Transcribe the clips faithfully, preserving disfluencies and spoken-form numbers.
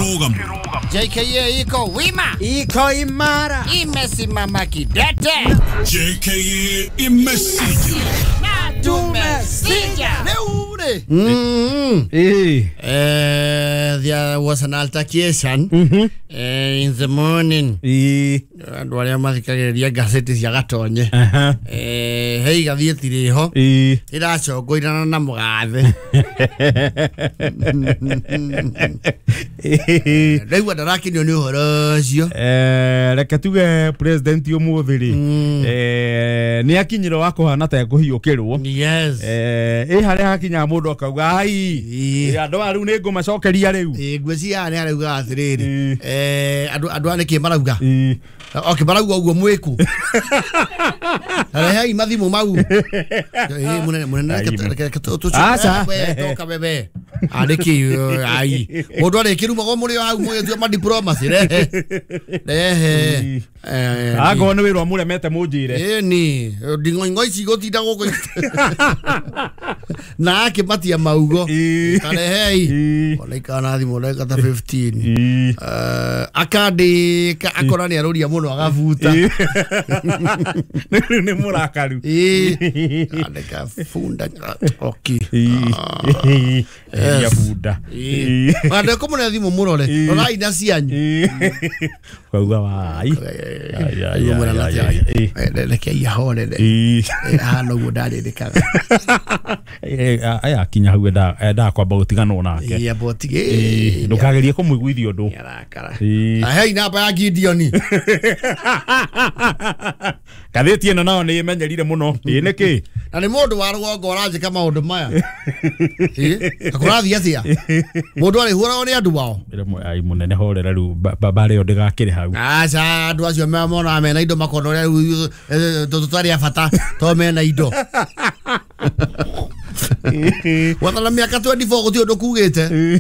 J K A iko wima, iko imara, imesimama kidete. J K A imesija na tumesija. Leure. Mm. Eh. Eh, there was an altercation mm-hmm. eh, in the morning. Eh. Andu aria mathikagĩrĩria ngathĩti cia Gatonye. Uh-huh. Eh, hei gathĩti rĩho. Eh. Ĩracongoirana na mũgathe. Ndaigua ndarakenio nĩ ũhoro ũcio. Eh, reke tuge president ũmũthĩ rĩ. Eh, nĩ akinyire wa kũhana ta ekũhiũkĩrwo. Yes. Eh, ĩ harĩa hakinya mũndũ akauga ai. Andũ aya rĩu nĩ ngũmacokeria rĩu. Ĩ ngwĩciria nĩ arauga atĩrĩrĩ. Eh, andũ andũ aya nĩkĩ marauga? Ĩ. Okay, marauga ũguo mwĩku. Rehei mathimũ mau. Ĩ mũnene mũnene reke tũcoke. Aca. Toka bebe. Andĩki ai. Mũndũ arĩkĩrumagwo mũrĩ o hau mũgĩtua ma diplomacy rehe. Rehe. Eh, angorwo nĩ wĩra mũremete mũnjĩre. Ĩni, nding'oing'o ici gũtinda gũkũ. Na akĩmatia maugo. Karehei. Ona ikara na thimũ ndagĩka ta fifteen. Eh, akandĩka akora nĩ arũria mũno agabuta. Rĩu nĩ mũrakaru. Ĩ. Andĩka bunda. Okay. Ya bunda. Andĩka mũne thimũ mũrore. Rorai na cianyu. Ukauga wai. Reke ihorere. Hana ũguo ndarĩrĩkaga. Aya akinya hau endaga kwamba gũtiganwo nake. Ĩ amba ũtige. Ndũkagerie kũmũiguithia ũndũ. Nĩarakara. Hei namba ya Gideon. Ngathĩti ĩno nayo nĩ ĩmenyerire mũno. Ĩ nĩkĩ? Na nĩ mũndũ wa rũgongo ũranjĩka maũndũ maya. Ĩ akũrathiĩ atĩa? Mũndũ arĩhũragwo nĩ andũ ao. Ai mũnene horera rĩu mbara ĩyo ndĩgakĩrĩ hau. Aca andũ acio monaga mena indo makona ũrĩa rĩu tũtarĩ a bata to mena indo. Wathana mĩaka twenty-four gũtirĩ ũndũ kugĩte.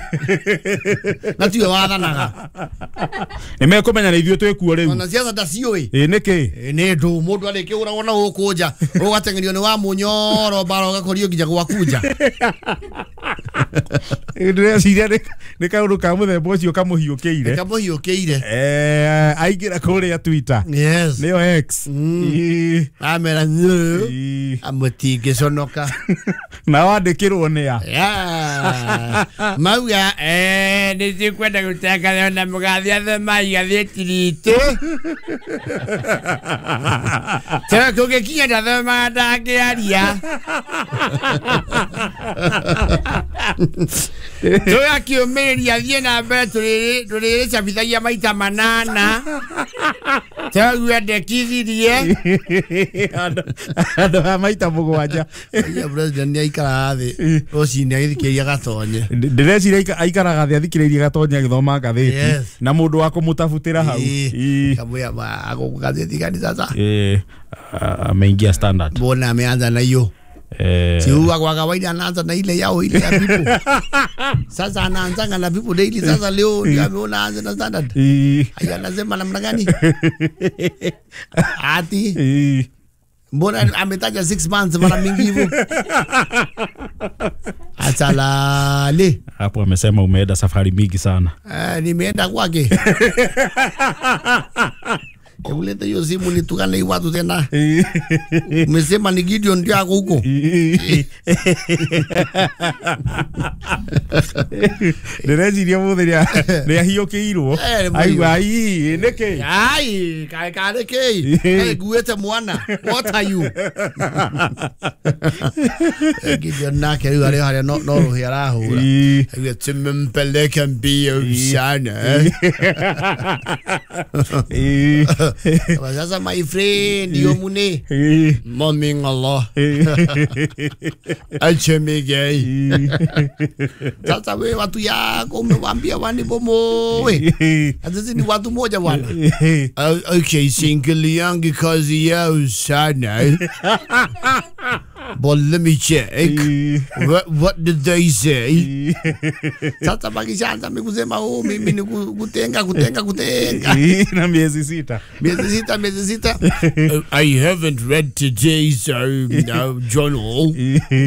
Na tiwe wathanaga. Nĩ mekũmenya nĩ ithuĩ twĩkuo rĩu. Ona ciaca ndaciũĩ. Ĩ nĩkĩ? Ĩ nĩ ndũ mũndũ arĩkĩũragwo na gũkũ nja ũgateng'erio nĩ wa mũnyoro mbara ũgakorio nginya gwaku nja. Ndĩreciria nĩ kaũndũ ka mũthemba ũcio kamũhiũkĩire. Kamũhiũkĩire. Eh, aingĩra kũrĩa Twitter. Yes. Nĩyo X. Amera amũtingĩconoka. Na wandĩkĩrwo nĩ a? Yeah. Mauga eh nĩ cikwenda gũtangatha na mũgathe athoma igathĩti ritũ. Tena kũngĩkinya ndathomaga ndangĩaria. Tũgakĩũmĩrĩria thiĩ na mbere tũrĩrĩcabithagia maita manana. Tũraigua ndekithirie. Andũ a maita mũgwanja. President nĩ aikaraga thĩ rũcinĩ agĩthikĩrĩria Gatonye. Ndĩreciria aikaraga thĩ athikĩrĩirie Gatonye agĩthoma ngathĩti na mũndũ wa kũmũtabutĩra hau. Kamwĩra gathĩti gani sasa? Eh, ameingia Standard. Mbona ameanza na hiyo? Eh. Si huwa kwa kawaida anaanza na ile yao ile ya People. Sasa anaanza na People Daily sasa leo ndio ameona aanze na Standard. Haya anasema namna gani? Ati. Mbona ametaja six months mara mingi hivyo? Asalale. Hapo amesema umeenda safari mingi sana. Eh, nimeenda kwake. Hebu leta hiyo simu nitukane hii watu tena. Umesema ni Gideon ndio ako huko. Ndĩreciria mũthĩ nĩ ahiũkĩirwo. Aigua ai nĩkĩ? Ai kaĩ karĩ kĩ? Kaĩ nguĩte mwana. What are you? Gideon nake rĩu arĩ harĩa no no rũhĩ arahũra. Aigua tumempeleke mbio sana. Sasa my friend yo mune moming Allah. Achemegei. Sasa wewe watu yako umewaambia wanibomoe. Sasa ni watu moja bwana. Okay, single yangu kazi yao sana. But let me check. What, what did they say? Sasa bakishaanza kusema oh, mimi ni kutenga kutenga kutenga. Na miezi sita. Miezi sita, miezi sita. I haven't read today's uh, uh, journal.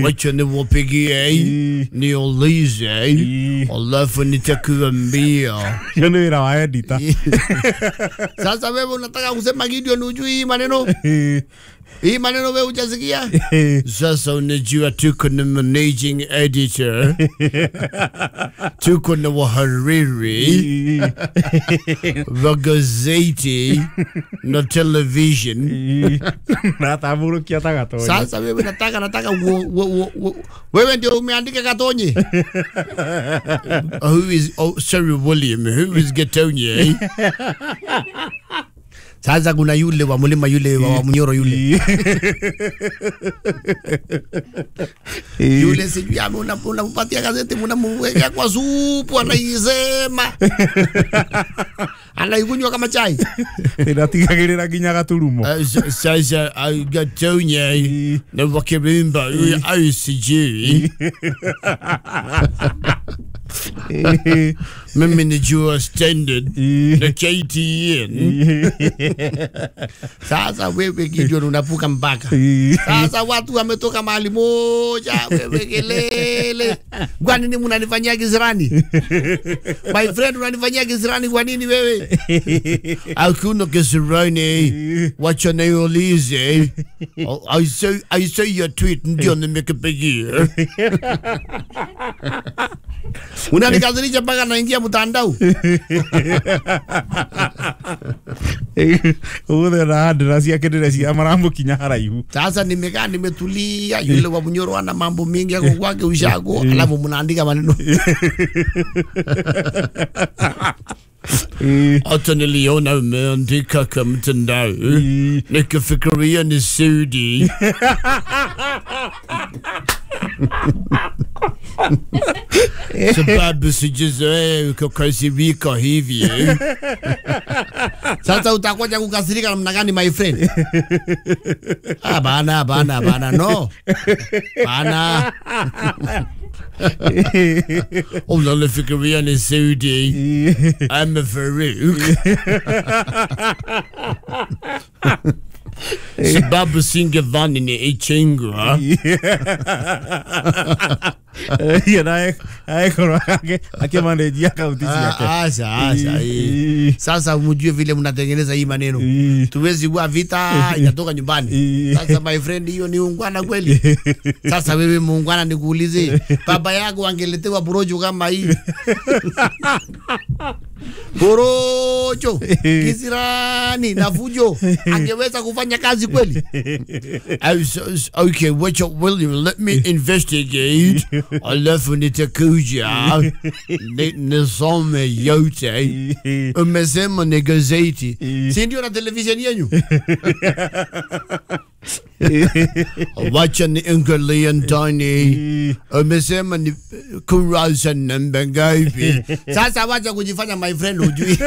Wacha niwapigie niulize alafu nitakuambia. Hiyo ni wĩra wa editor. Sasa wewe unataka kusema Gideon hujui hii maneno? Hii maneno wewe hujasikia? Sasa unajua tuko na managing editor. Tuko na wahariri wa gazeti na television. Na taburukia tagatonye. Sasa wewe nataka nataka wewe ndio umeandika Gatonye. Who is, oh sorry William, who is Gatonye? Sasa kuna yule wa mlima yule wa Munyoro yule. Yule sijui unampatia gazeti mnamweka kwa supu anaisema. Anaikunywa kama chai. Inatigagirira nginya gaturumo. Sasa Gatonye na wakirimba I C G. Mimi ni jua standard na K T N. Sasa wewe Gideon unavuka mpaka. Sasa watu wametoka mahali moja, wewe kelele. Kwa nini mnanifanyia kisirani? My friend, unanifanyia kisirani kwa nini wewe? Hakuna kisirani. Wacha niulize. I saw I saw your tweet ndio nimekupigia. Unanikasirisha mpaka naingia mtandao. Uwe na address yake ndire maramukinya haraihu. Sasa nimekaa nimetulia, yule wa Munyoro ana mambo mengi yako kwake ushago, alafu mnaandika maneno. Hata niliona umeandika kwa mtandao. Nikafikiria ni Saudi. Sababu sijazoea kukasirika hivi. Sasa utakuja kukasirika namna gani my friend? Ah, bana bana bana no. Bana. Unanifikiria ni Saudi. I'm a Farouk. Sababu singedhani ni Ichingwa. Hiyo naye aekorwo akimanage akaunti ciake. Acha acha. Sasa mjue vile mnatengeneza hii maneno. Tuwezi kuwa vita inatoka nyumbani. Sasa my friend, hiyo ni ungwana kweli? Sasa wewe muungwana, nikuulize, baba yako angeletewa porojo kama hii? Porojo, kisirani na fujo, angeweza kufanya kazi kweli? Okay, wait, William, let me investigate. Alafu nitakuja nisome yote. Umesema ni gazeti, si ndio na televisheni yenu? Wacha niangalie ndani. Umesema ni kurasa namba ngapi? Sasa wacha kujifanya my friend hujui.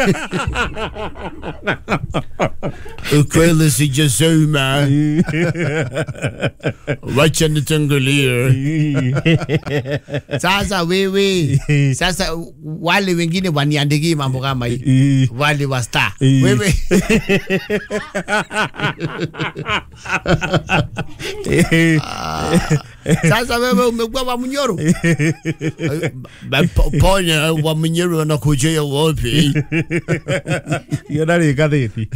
Ukweli sijasoma. Wacha nitangulie. Sasa wewe, sasa wale wengine waniandikie mambo kama hii, wale wa star. Wewe sasa wewe umekuwa wa Munyoro. Ponya wa Munyoro anakujia wapi? Hiyo ndari gazeti.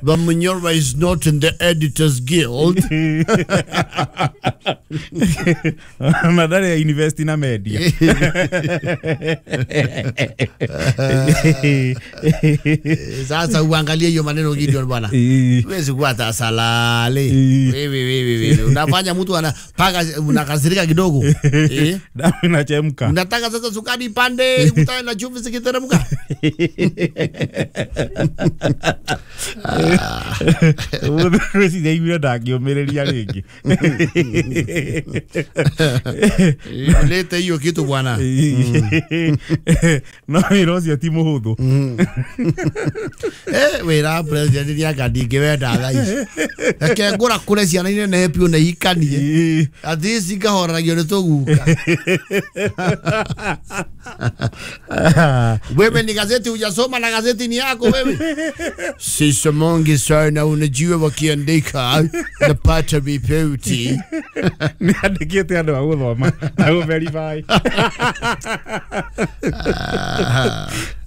Wa Munyoro is not in the Editors Guild. Madare ya invest na media. Sasa uangalie hiyo maneno Gideon bwana. Huwezi kuwa tasalale. Wewe wewe wewe unafanya mtu anapaka unakasirika kidogo. Eh? Damu inachemka. Unataka sasa sukari ipande, utae na chumvi zikiteremka. Ũmũthĩ iguire ndangĩũmĩrĩria rĩngĩ. Lete hiyo kitu bwana. No wĩra ũcio ti mũhũthũ. Eh, wĩra president nĩ ndingĩwenda thaa ici. Reke ngũra kũre ciana inenehe biũ na ihikanie. At least ikahoragio nĩ tũguka. Wewe ni gazeti hujasoma na gazeti ni yako wewe. Sisomongi sana unajua wakiandika napata ripoti. Nĩ andĩkĩte andũ a gũthoma na gũ verify.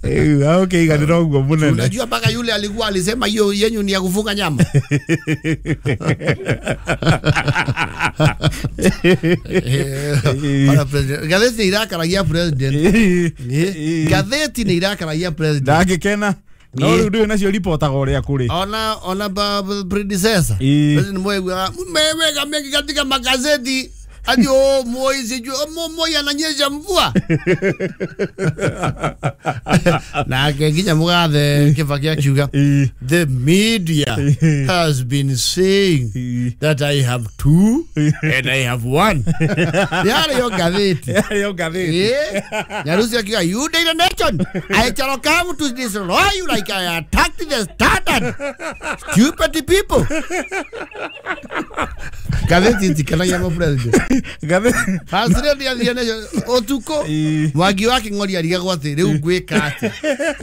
Eh, okay, iganĩra ũguo mũnene. Unajua mpaka yule alikuwa alisema hiyo yenyu ni ya kufunga nyama. Ora president, gazeti irakaragia president. Gazeti ni irakaragia president. Ndangĩkena. No rĩu ndũĩ nacio ripotaga ũrĩa kũrĩ. Ona ona ba predecessor. President Moi mmeweka mengi katika magazeti. Ati oh Moi sijui oh Moi ananyesha mvua. Na nginya mugathe Kibaki akiuga the media has been saying that I have two and I have one. Yale yo gazeti. Yale yo gazeti. Nyarusi akiuga you Daily Nation, I shall come to destroy you like I attacked the standard. Stupid people. Gazeti itikanagia mo president. Gazeti President athie nacio utuko Mwangi wa King'ori arigagwo ati riu ngwika ati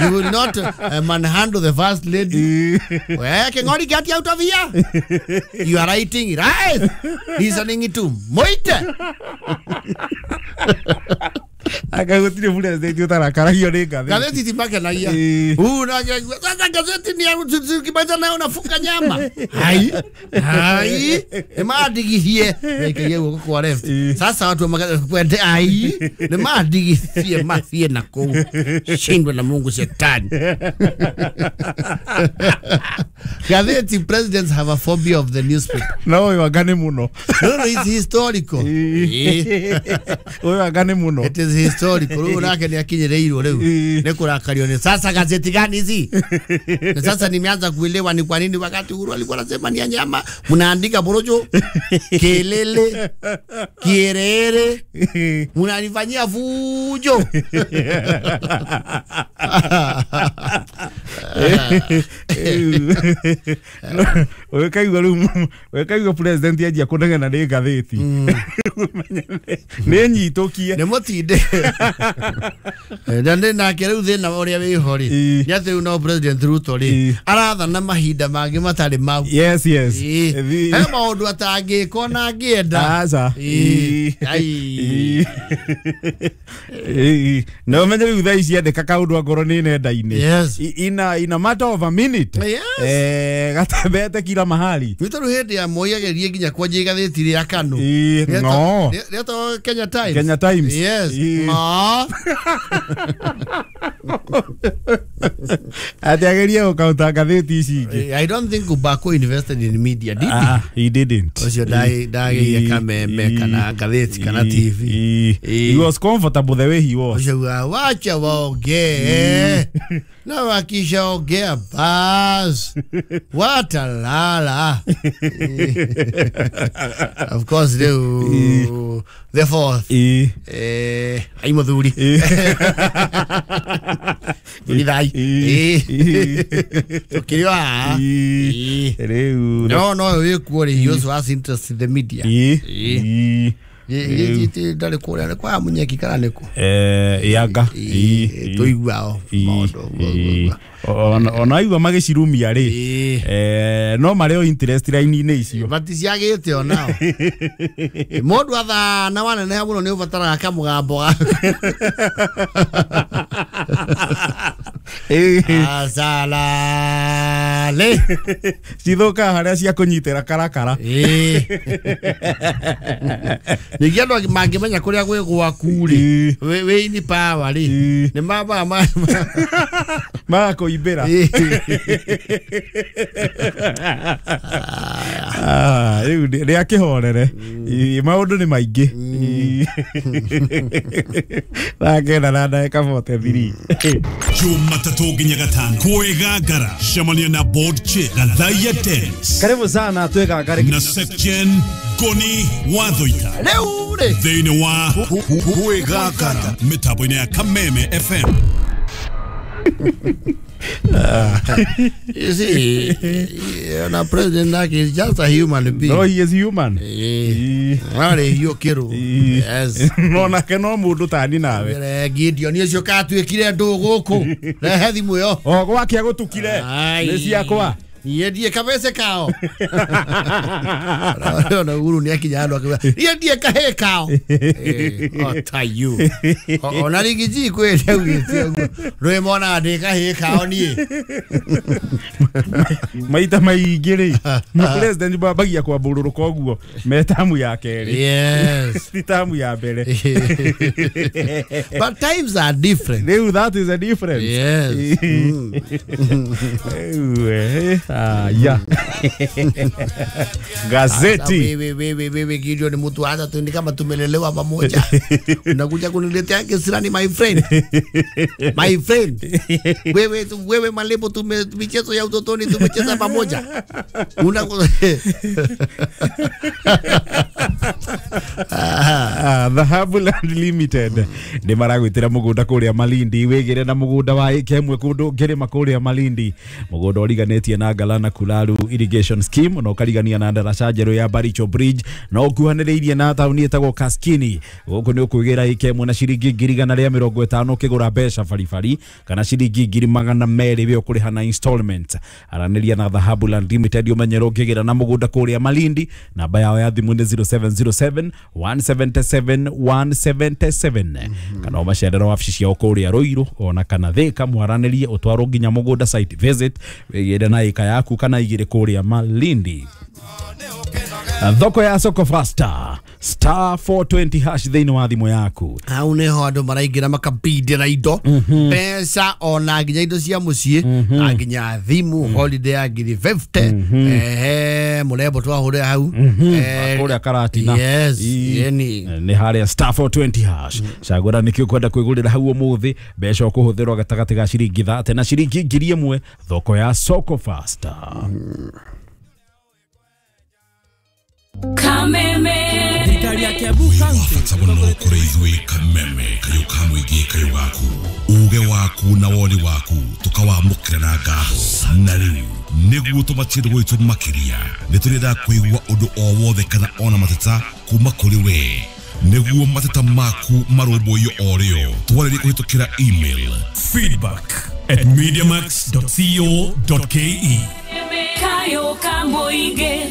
you will not uh, manhandle the first lady. We King'ori, get out of here. You are writing right listening to Moite. Anga gutire president utarakaragio ni ngatheti. Ngatheti timakenagia. Una sasa gazeti ni kibaita nayo unafunga nyama. Hai. Hai. Emandigithie. Nikaige guoko kwa left. Sasa watu kwende ai. Nimandigithie mathie na kuu. Shindwe na Mungu shetani. Gazeti presidents have a phobia of the newspaper. No, wagane muno. No, no, it's historical. Oyo wagane muno. It is historical. Rĩu nake nĩ akinyĩrĩirwo rĩu nĩ kũrakario nĩ sasa gazeti gani hizi. Na sasa nimeanza kuelewa ni kwa nini wakati Uhuru alikuwa anasema ni ya nyama mnaandika borojo kelele kierere mnanifanyia fujo. Wekaigua rĩu wekaigua president anjia kũnegena nĩ ngathĩti nĩ nyitũkie nĩ mũtinde na nĩ nake rĩu thĩna ũrĩa wĩho rĩ nĩ atĩ rĩu no president Ruto rĩ arathana mahinda mangĩ matarĩ mau. Yes, yes. He maũndũ atangĩka ona angĩenda. Aca. No menye rĩu thaa ici andĩka kaũndũ angorwo nĩ nenda-inĩ in a, in a matter of a minute. Yes. Eh, gatembete kila mahali. Nĩ tondũ hĩndĩ ya Moi agerie nginya kwanjia igathĩti rĩa Kanu. No. Rĩetagwo Kenya Times. Kenya Times. Yes. No. Ati agerie gũkaunta ngathĩti ici ingĩ. I don't think Ubako invested in media, did he? Ah, he didn't. Ũcio ndageria kameme kana ngathĩti kana T V. He was comfortable the way he was. Ũcio wacha waongee. Na wakishaongea bas watalala. Of course rĩu the fourth eh ai muthuri thai tukiri wa rĩu no no wĩkuo rĩ he also has interest in the media. Ĩ ndarĩ kũrĩa nĩ kwa Munyeki kana nĩkũ eh yanga tũiguao maũndũ ona igua magĩcirumia rĩ eh no marĩ o interest line-inĩ icio maticiagĩte onao. Mũndũ athana waneneha mũno nĩ ũbataraga kamũgambo gaku. Asalale cithũkaga harĩa cia kũnyitĩra karakara. Ningĩ andũ mangĩmenya kũrĩa gwĩ gwaku rĩ, wĩ ini power rĩ, nĩ maba magakũimbĩra. Rĩu rĩa kĩhorere maũndũ nĩ maingĩ. Thaa kenda na ndagĩka forty three. Jumatatũ nginya gatano kwĩgangara cemania na board chair Gathaiya Dennis. Karibu sana twĩgangare na Section Goni Wathoita rĩu rĩ thĩinĩ wa kwĩgangara mĩtambo-inĩ ya Kameme F M. You see, na president nake is just a human being. No, he is human. Arĩ hiũkĩrwo. Yes. No nake no mũndũ tani nawe. Gideon ũcio katuĩkire ndũ gũkũ. Rehe thimũ ĩyo. O gwake agũtukire. Nĩ ciakwa. Niĩ ndiĩ kabece kao. Ona Uhuru nĩ akinya handũ akiuga niĩ ndiĩ kahĩĩ kao. O ta you. Ona rĩngĩ ji kwĩ augĩte ũguo. Rwĩ monaga ndĩ kahĩĩ kao niĩ. Maita maingĩ rĩ, president mambagia kwambũrũrũka ũguo me tamu ya kerĩ. Yes. Ti tamu ya mbere. But times are different. Rĩu that is a difference. Yes. Mm. Ah, yeah. Gazeti. Wewe wewe wewe Gideon mtu hata tu ni kama tumelelewa pamoja. Unakuja kuniletea kisirani my friend. My friend. Wewe wewe Malebo tume michezo ya utotoni tumecheza pamoja. Una Ah, Dhahabu Land Limited nĩ maragwĩtĩra mũgũnda kũrĩa Malindi wĩgĩre na mũgũnda wa ĩka ĩmwe kũndũ ngĩrĩma kũrĩa Malindi, mũgũnda ũriganĩtie na Galana Kulalu Irrigation Scheme na ũkarigania na ndaraca njerũ ya Baricho Bridge na ũkuhanĩrĩirie na taũni ĩtagwo Kaskini. Gũkũ nĩ ũkwĩgĩra ĩka ĩmwe na ciringi ngiri igana rĩa mĩrongo ĩtano ũkĩgũra mbeca baribari kana ciringi ngiri magana merĩ we ũkũrĩha na installment. Aranĩria na Dhahabu Land Limited ũmenyere ũngĩgĩra na mũgũnda kũrĩa Malindi. Namba yao ya thimũ nĩ zero seven zero seven one seven seven one seven seven kana ũmacerere wabici ciao kũrĩa Ruiru ona kana Thika mwaranĩrie ũtwarwo nginya mũgũnda site visit wĩgĩre na ĩka yaku kana igĩrĩ kũrĩa Malindi. Thoko ya Soko Faster star four twenty hash thĩinĩ wa thimũ yaku. Hau nĩho andũ maraingĩra makabindĩra indo mbeca ona nginya indo cia mũciĩ na nginya thimũ holiday ya ngiri fifty ehe mũrembo twahũrĩra hau kũrĩa Karatina. Yes, yeni nĩ harĩa star four twenty hash. Cagũra nĩkĩ ũkwenda kwĩgũrĩra hau ũmũthĩ, mbeca ũkũhũthĩrwo gatagatĩ ga ciringi thate na ciringi ngiri ĩmwe thoko ya Soko Faster. Kameme thirikari ya Kiambu County mũno kũrĩ ithuĩ Kameme kayũ ka mũingĩ kayũ gaku uge waku na woni waku tũkawamũkĩra na ngatho. Na rĩu nĩguo tũmatie gwitũ makĩria nĩ tũrenda kũigua ũndũ o wothe kana ona mateta kuma kũrĩ we nĩguo mateta maku marũmbũiyo o rĩo twarĩrie kũhĩtũkĩra email feedback at mediamax dot co dot ke. Kayo kamboige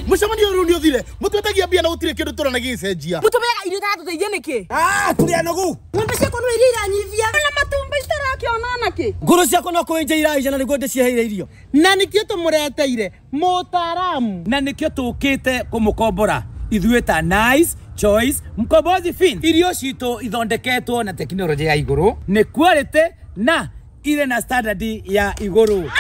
mucemanio rĩu nĩ ũthire mũtwetagia mbia na gũtirĩ kĩndũ tũrona gĩgĩcenjia mũtũmeaga irio itatũteithia nĩkĩ? Ah, tũrĩ anogu. Ng'ombe ciakwa no iria iranyivia na matumbĩ itarakĩona nakĩ. Ngũrũ ciakwa no kũenja iraija na nĩguo ndĩciheire irio na nĩkĩo tũmũreteire mũtaaramu na nĩkĩo tũkĩte kũmũkombora ithuĩ ta Nice Choice Mkombozi Fin. Irio citũ ithondeketwo na tekinoronjĩ ya igũrũ nĩ quality na ire na standard ya igũrũ.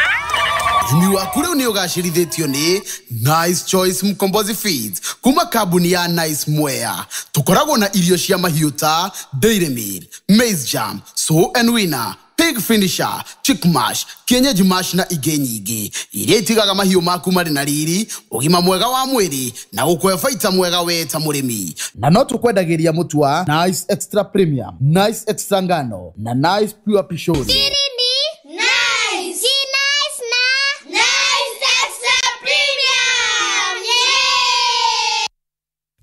Ũrĩmi waku rĩu nĩ ũgacĩrithĩtio nĩ Nice Choice Mkombozi Feeds kuma kambuni ya Nice Mwea. Tũkoragwo na irio cia mahiũ ta Dairy Meal, Maize Jam, Sow and Winner, Pig Finisher, Chick Mash, Kienyeji Mash na ingĩ nyingĩ iria itigaga mahiũ maku marĩ na riri, ũgima mwega wa mwĩrĩ na gũkũhe baita mwega we ta mũrĩmi. Na no tũkwendagĩria mũtu wa Nice Extra Premium, Nice Extra Ngano na Nice Pure Pishori.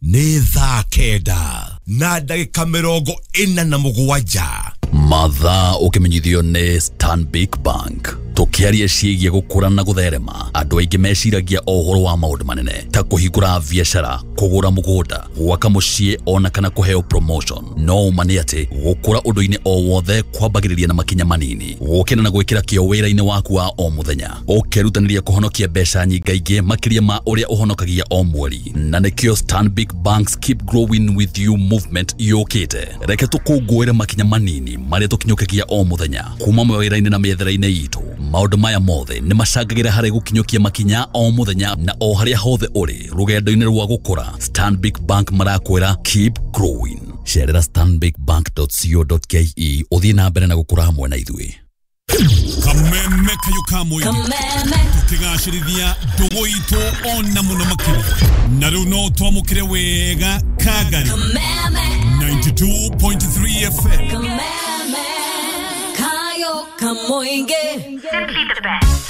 Nĩ thaa kenda na ndagĩka mĩrongo ĩna na mũgwanja mathaa ũkĩmenyithio nĩ Stanbic Bank. Tukiaria ciĩgiĩ gũkũra na gũtherema, andũ aingĩ meciragia o ũhoro wa maũndũ manene ta kũhingũra biacara, kũgũra mũgũnda, gwaka mũciĩ ona kana kũheo promotion. No ũma nĩ atĩ gũkũra ũndũ-inĩ o wothe kwambagĩrĩria na makinya manini, gũkĩra na gwĩkĩra kĩo wĩra-inĩ waku wa o mũthenya, ũkerutanĩria kũhonokia mbeca nyingaingĩ makĩria ma ũrĩa ũhonokagia o mweri. Na nĩkĩo Stanbic Bank's Keep Growing With You movement yũkĩte. Reke tũkũngũĩre makinya manini marĩa tũkinyũkagia o mũthenya kuma mawĩra-inĩ na mĩethere-inĩ itũ. Maũndũ maya mothe nĩ macangagĩra harĩ gũkinyũkia makinya o mũthenya na o harĩa hothe ũrĩ rũgendo-inĩ rwa gũkũra. Stanbic Bank marakwĩra keep growing. Cerera stanbic bank dot co dot ke ũthiĩ na mbere na gũkũra hamwe na ithuĩ. Kameme kayo ka mũingĩ tũkĩgacĩrithia ndũgũ itũ ona mũno makĩria, na rĩu no twamũkĩre wega Kagari ninety-two point three F M. Kameme kayo ka mũingĩ. Simply the best.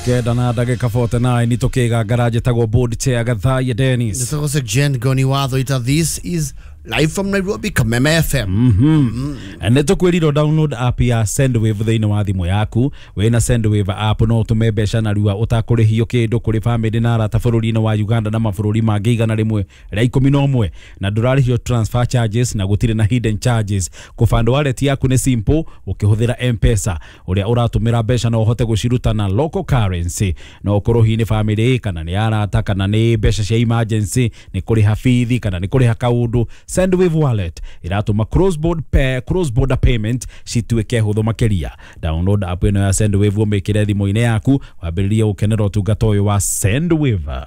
Kenda na ndagĩka forty-nine nĩtũkĩga ngaraji tagwo board chair Gathaiya Dennis. Nĩtagwo Jen Goni Watho ita. This is live from Nairobi, Kameme F M. Mm-hmm. Mm. Nĩtũkwĩrirwo download app ya Sendwave thĩinĩ wa thimũ yaku. Wĩna Sendwave app no ũtũme mbeca narua ũtakũrĩhio kĩndũ kũrĩ famĩlĩ na arata bũrũri-inĩ wa Uganda na mabũrũri mangĩ igana rĩmwe rĩa ikũmi na ũmwe, na ndũrarĩhio transfer charges na gũtirĩ na hidden charges. Kũband wallet yaku nĩ simple ũkĩhũthĩra M-Pesa. Ũrĩa ũratũmĩra mbeca no ũhote gũciruta na local currency, no ũkorwo hihi nĩ famĩlĩ kana nĩ arata kana nĩ mbeca cia emergency, nĩ kũrĩha bithi kana nĩ kũrĩha kaũndũ. Sendwave wallet iratũma cross border pay, cross border payment cituĩke hũthũ makĩria. Download app ĩno ya Sendwave ũmĩkĩre thimũ-inĩ yaku wambĩrĩrie gũkenera ũtungata ũyũ wa Sendwave.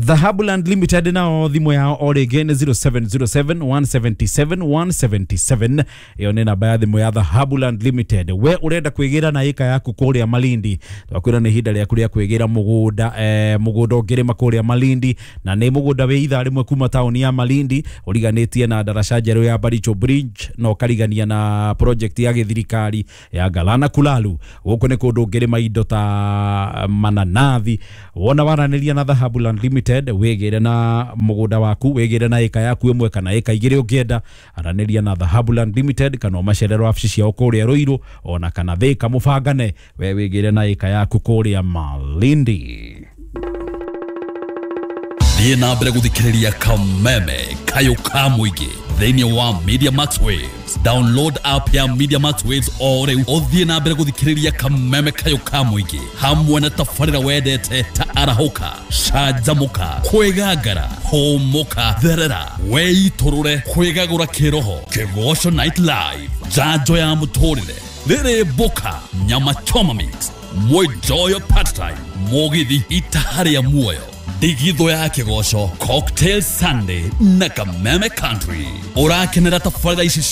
Dhahabuland Limited nao thimũ yao o rĩngĩ nĩ zero seven zero seven one seven seven one seven seven. Ĩyo nĩ namba ya thimũ ya Dhahabuland Limited. We ũrenda kwĩgĩra na ĩka yaku kũrĩa Malindi, twakwĩra nĩ ihinda rĩaku rĩa kwĩgĩra mũgũnda, eh, mũgũnda ũngĩrĩma kũrĩa Malindi, na nĩ mũgũnda wĩ ithaa rĩmwe kuma taũni ya Malindi, ũriganĩtie na ndaraca njerũ ya Baricho Bridge na ũkarigania na project ya gĩthirikari ya Galana Kulalu. Gũkũ nĩ kũndũ ũngĩrĩma indo ta mananathi. Wona waranĩria na Dhahabuland Limited wigire na mugunda waku, wigire na eka yaku imwe kana eka igiri ungienda, aranĩria na Dhahabuland Limited kana ũmacerere wabici ciao kũrĩa Ruiru ona kana Thika, mũbangane we wigire na eka yaku kũrĩa Malindi. Thiĩ na mbere gũthikĩrĩria Kameme kayo ka mũingĩ thĩinĩ wa Media Max Waves. Download app ya Media Max Waves o rĩu ũthiĩ na mbere gũthikĩrĩria Kameme kayo ka mũingĩ hamwe na tabarĩra wendete ta arahũka, canjamũka, kwĩgangara, hũmũka, therera, weitũrũre, kwĩgagũra kĩroho, Kĩgoco Night Live, njanjo ya mũtũrĩre, rĩrĩ mboka, nyama choma mix, mwenjoyo part time, mũgithi itaharĩa muoyo, ndigitho ya kĩgoco, Cocktail Sunday na Kameme Country. Ũrakenera tabarĩra ici.